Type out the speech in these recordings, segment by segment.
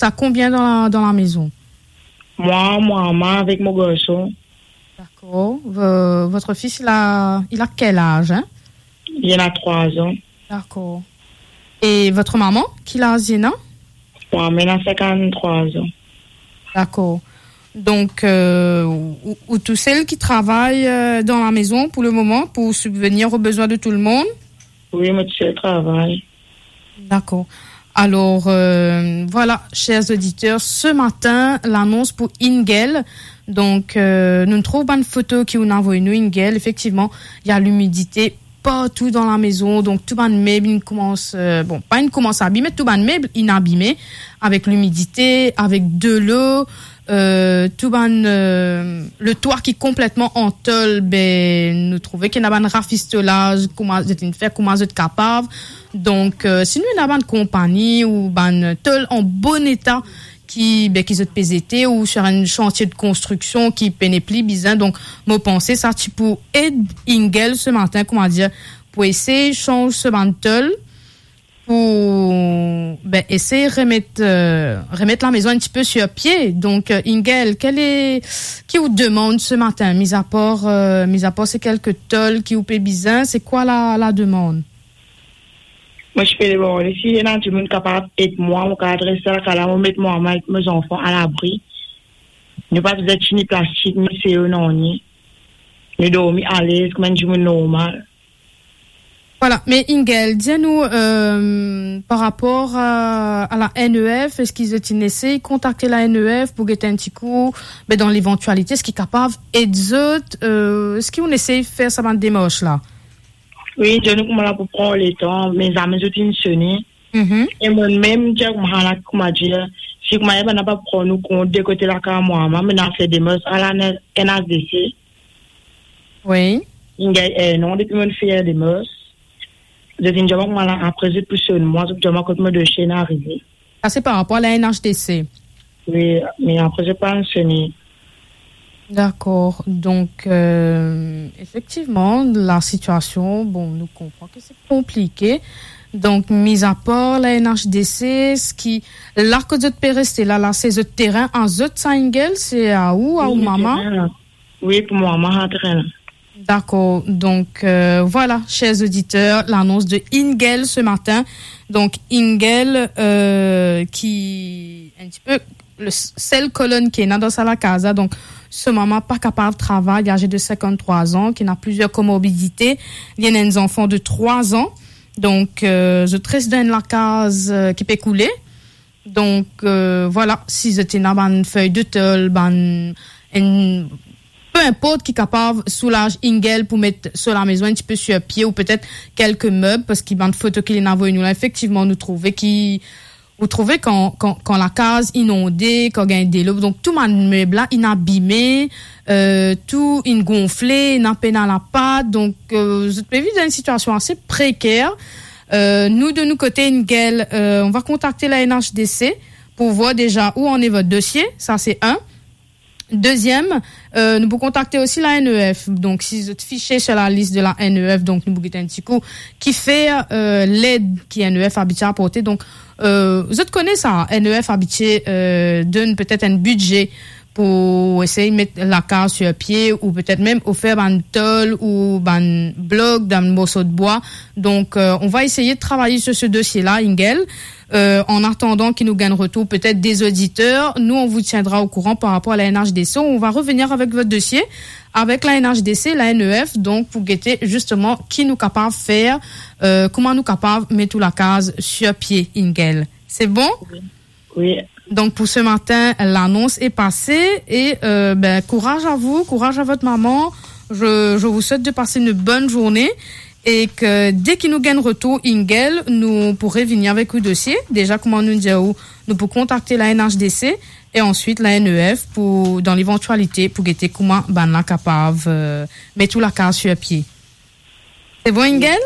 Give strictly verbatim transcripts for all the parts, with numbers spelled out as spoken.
T'as combien dans la, dans la maison ? Moi, mon maman avec mon garçon. D'accord. Vo-, votre fils, il a, il a quel âge, hein ? Il en a trois ans. D'accord. Et votre maman, quel âge il a ? Mon maman, elle a cinquante-trois ans. D'accord. Donc, euh, ou, ou tousel ki travay, euh, dans la maison pour le moment, pour subvenir aux besoins de tout le monde ? Oui, moi tousel travay. D'accord. Alors, euh, voilà, chers auditeurs, ce matin, l'annonce pour Ingel. Donc, euh, nou trouv bann foto ki ou inn avoy nou, Ingel. Effectivement, il y a l'humidité partou dan lamaison, donk tou bann meb inn koumans, euh, bon, pa inn koumans abime, tou bann meb inn abime avek limidite, avek delo, euh, tou bann, euh, le twa ki konpletman an tol, be, nou trouve ki ena bann rafistolaz, kouma zot inn fer, kouma zot kapav. Donk, euh, si nou ena bann konpagni ou bann tol an bon eta, ki, be, ki zot pe zete ou sur enn santie de konstriksion ki pena pli bizin. Donk, mo panse sa ti pou ed Ingel ce matin, kouma dir, pou esey sanz so bann tol, pou, be, esey remet, euh, remet lamaison enn tipe sur pie. Donk, euh, Ingel, kel e, ki ou demann ce matin, mis à part, euh, mis à part se kelke tol ki ou pe bizin, se kwa la, la demann ? Mo ti pe demann si ena dimoun kapav ed mwa, mo kapav res sa lakaz la, mo met mo mama ek mo zanfan alabri. Nou pa bizin tini plastik, ni seyo, nanye. Nou dormi alez kouma enn dimoun normal. Voilà, me Ingel, dir nou, euh, par rapor a, a la N E F, eski zot inn esey kontakte la N E F pou get enn ti kou, be, dan levantialite, eski kapav ed zot, euh, eski ou inn esey fer sa bann demars la ? Wi, dir nou kouma la pou pran letan, me zame zot inn sone. Mhm. E mwa mem, dir kouma la, kouma dir, si kouma bann la pa pran nou kont de kote lakaz mwa, mwa, mo inn fer demars a la N H D C. Wi. Inn gagn enn an depi mo inn fer demars. Zot inn dir mwa kouma la, apre zot pou sonn mwa, zot pou dir mwa kot mo dosie inn arive. Sa se par rapor a la N H D C. Wi, me apre zot pa inn sone. Dakor. Donk, euh, efektivman, la sitiasion, bon, nou konpran ke se konplike. Donk, mis à part la N H D C, eski la kot zot pe reste la, la, se zot terin a zot sa, Ingel, se a ou, a ou mama ? Wi, terin la. Wi, pou mwa, mwa, sa terin la. Dakor. Donk, euh, voilà, chers auditeurs, l'annonce de Ingel ce matin. Donk, Ingel, euh, ki enn tipe le s-, sel kolonn ki ena dan sa lakaz la. Donk, so mama pa kapav travay, aze de cinquante-trois ans, ki ena plizier komorbidite. Li ena enn zanfan de trois ans. Donk, euh, zot res dan enn lakaz, euh, ki pe koule. Donk, euh, voilà, si zot ena bann fey de tol, bann, enn, pe inport ki kapav soulaz Ingel pou met so lamaison enn tipe sur pie ou petet kelke meb, parski bann foto ki li inn avoy nou la, efektivman, nou trouve ki, ou trouve kan, kan, kan lakaz inonde, kan gagn delo, donk tou bann meb la inn abime, euh, tou inn gonfle, inn pena lapat, donk, euh, zot pe viv dan enn sitiasion ase preker. Euh, nou, de nou kote, Ingel, euh, on va kontakte la N H D C pou vwar deza ou ane vot dosie, sa se enn. Deziem, euh, nou pou kontakte osi la N E F. Donk, si zot fixe sur la lis de la N E F, donk nou pou get enn ti kou kifer, euh, led ki N E F abitie aporte. Donk, euh, zot kone sa, N E F abitie, euh, donn petet enn bidze pou esey met lakaz sur pie ou petet mem ofer bann tol ou bann blok, bann morso de bwa. Donk, euh, on va essayer de travailler sur ce dossier-là, Ingel. Euh, en attendant ki nou gagn retour peut-être des auditeurs, nous, on vous tiendra au courant par rapport à la N H D C. On va revenir avec votre dossier, avec la N H D C, la N E F, donk pou gete justement ki nou kapav fer, euh, kouma nou kapav met ou lakaz sur pie, Ingel. C'est bon ? Wi. Wi. Donc, pour ce matin, l'annonce est passée et, euh, ben, courage à vous, courage à votre maman. Je, je vous souhaite de passer une bonne journée et que dès ki nou gagn retour, Ingel, nou pou revini avek ou dosie. Deza, kouma nou dir ou, nou pou kontakte la N H D C et ensuite la N E F pou, dans l'éventualité, pou gete kouma bann la kapav, euh, met ou lakaz sur pie. C'est bon, Ingel ?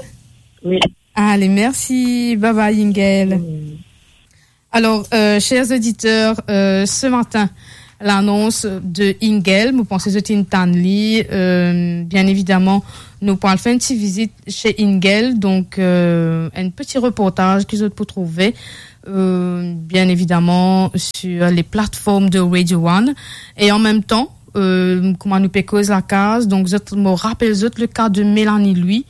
Wi. Allez, merci. Bye bye, Ingel. Wi. Alors, euh, chers auditeurs, euh, ce matin, l'annonce de Ingel, mo panse zot inn tann li, euh, bien évidemment, nou pou al fer enn ti vizit chez Ingel, donk, euh, enn ti reportaz ki zot pou trouve, euh, bien évidemment, sur les plateformes de Radio One. E an mem tan, euh, kouma nou pe koz lakaz, donk zot, mo rapel zot le ka de Mélanie Louis,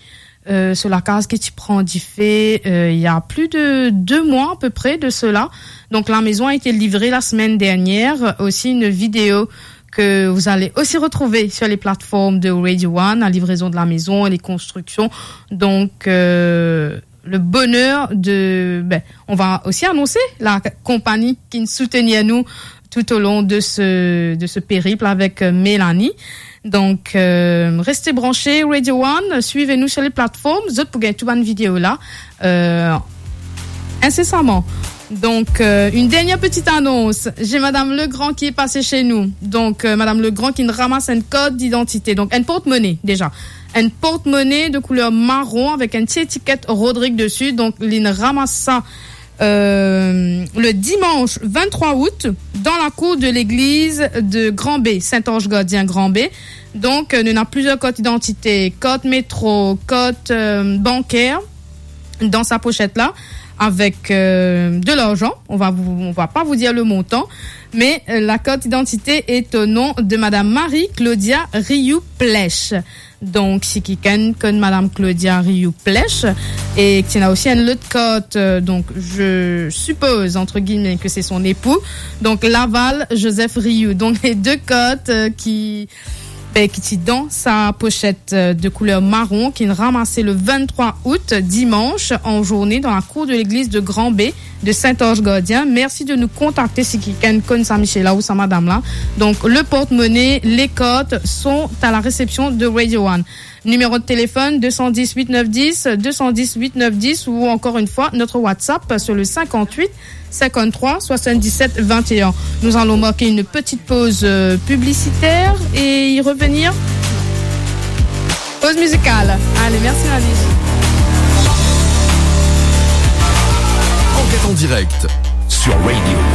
euh, so lakaz ki ti pran dife, euh, il y a plus de deux mois à peu près de cela. Donc, la maison a été livrée la semaine dernière. Aussi, une vidéo que vous allez aussi retrouver sur les plateformes de Radio One, la livraison de la maison et les constructions. Donc, euh, le bonheur de, ben, on va aussi annoncer la compagnie qui soutient nous tout au long de ce, de ce périple avec, euh, Mélanie. Donc, euh, restez branchés, Radio One, suivez-nous sur les plateformes. Zot pou gagn tou bann vidéo la, euh, incessamment. Donc, euh, une dernière petite annonce. J'ai Madame Legrand qui est passée chez nous. Donc, euh, Madame Legrand qui nous ramasse une carte d'identité. Donc, un porte-monnaie, déjà. Un porte-monnaie de couleur marron avec un petit étiquette Rodrigue dessus. Donc, li ramass sa, euh, le dimanche vingt-trois août dans la cour de l'église de Grand Baie, Saint-Ange Gardien Grand Baie. Donc, euh, nou ena plizier kart idantite, kart metro, kart, euh, banker dans sa pochette-là, avec, euh, de l'argent. On va vous, on va pas vous dire le montant, mais, euh, la carte d'identité est au nom de Madame Marie-Claudia Riou-Plech. Donc, si kikenn konn Madame Claudia Riou-Plech, et qui a aussi une autre carte, euh, donc je suppose, entre guillemets, que c'est son époux, donc Laval Joseph Riou. Donc, les deux cartes, euh, qui ben, ki ti dan sa pochette, euh, de couleur marron, ki ramass le vingt-trois août, dimanche, en journée, dans la cour de l'église de Grand Baie de Saint-Ange Gardien. Merci de nous contacter si kikenn konn sa misie la ou sa madam la. Donc, le porte-monnaie, les cartes sont à la réception de Radio One. Numéro de téléphone deux cent dix huit neuf dix, deux cent dix huit neuf dix, ou encore une fois, notre WhatsApp sur le cinquante-huit cinquante-trois soixante-dix-sept vingt et un. Nous allons marquer une petite pause, euh, publicitaire et y revenir. Pause musicale. Allez, merci Nadège. Enquête en direct sur Radio One.